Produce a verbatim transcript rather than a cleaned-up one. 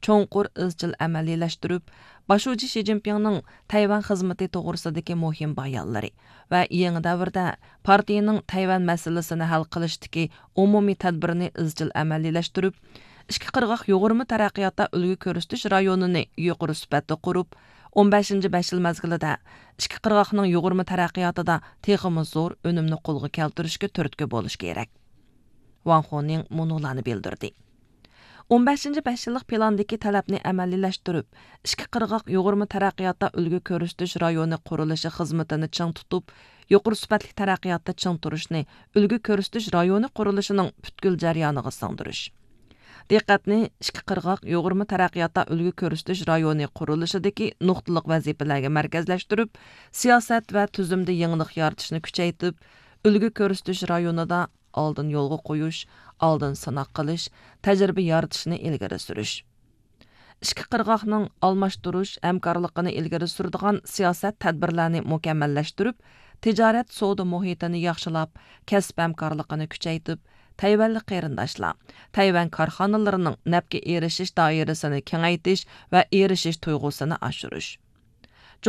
چوڭقۇر ئىزچىل ئەمەلىيلەشتۈرۈپ، باش شۇجى شى جىنپىڭنىڭ تەيۋەن خىزمىتى توغرىسىدىكى مۇھىم بايانلىرى ۋە يېڭى دەۋردە پارتىيىنىڭ تەيۋەن مەسىلىسىنى ھەل قىلىشتىكى ئومۇمىي تەدبىرىنى ئىزچىل ئەمەلىيلەشتۈرۈپ، ئىككى قىرغاق يۇغۇرما تەرەققىياتتا ئۈلگە كۆرسىتىش رايونىنى يۇقىرى سۈپەتتە قۇرۇپ، ئون بەشىنچى بەش يىل مەزگىلىدە ئىككى قىرغاقنىڭ يۇغۇرما تەرەققىياتىدا تېخىمۇ زور ئۈنۈمنى قولغا كەلتۈرۈشكە تۈرتكە بولۇش كېرەك. ۋاڭ خونىڭ مۇنۇلارنى بىلدۈردى. ئون بەشىنچى بەش يىللىق پىلاندىكى تەلەپنى ئەمەلىيلەشتۈرۈپ، ئىككى قىرغاق يۇغۇرما تەرەققىياتتا ئۈلگە كۆرسىتىش رايونى قۇرۇلۇشى خىزمىتىنى چىڭ تۇتۇپ، يۇقىرى سۈپەتلىك تەرەققىياتتا چىڭ تۇرۇشنى ئۈلگە كۆرسىتىش رايونى قۇرۇلۇشىنىڭ پۈتكۈل جەريانىغا سىڭدۈرۈش. دىققەتنى ئىككى قىرغاق يۇغۇرما تەرەققىياتتا ئۈلگە كۆرسىتىش رايونى قۇرۇلۇشىدىكى نۇقتىلىق ۋەزىپىلەرگە مەركەزلەشتۈرۈپ، سىياسەت ۋە تۈزۈمدە يېڭىلىق يارىتىشنى كۈچەيتىپ، ئۈلگە كۆرسىتىش رايونىدا ئالدىن يولغا قويۇش، ئالدىن سىناق قىلىش، تەجرىبە يارىتىشنى ئىلگىرى سۈرۈش. ئىككى قىرغاقنىڭ ئالماشتۇرۇش ھەمكارلىقىنى ئىلگىرى سۈرىدىغان سىياسەت تەدبىرلەرنى مۇكەممەللەشتۈرۈپ، تىجارەت سودا مۇھىتىنى ياخشىلاپ، كەسىپ ھەمكارلىقىنى كۈچەيتىپ، تەيۋەنلىك قېرىنداشلار، تەيۋەن كارخانىلىرىنىڭ نەپكە ئېرىشىش دائىرىسىنى كېڭەيتىش ۋە ئېرىشىش تۇيغۇسىنى ئاشۇرۇش.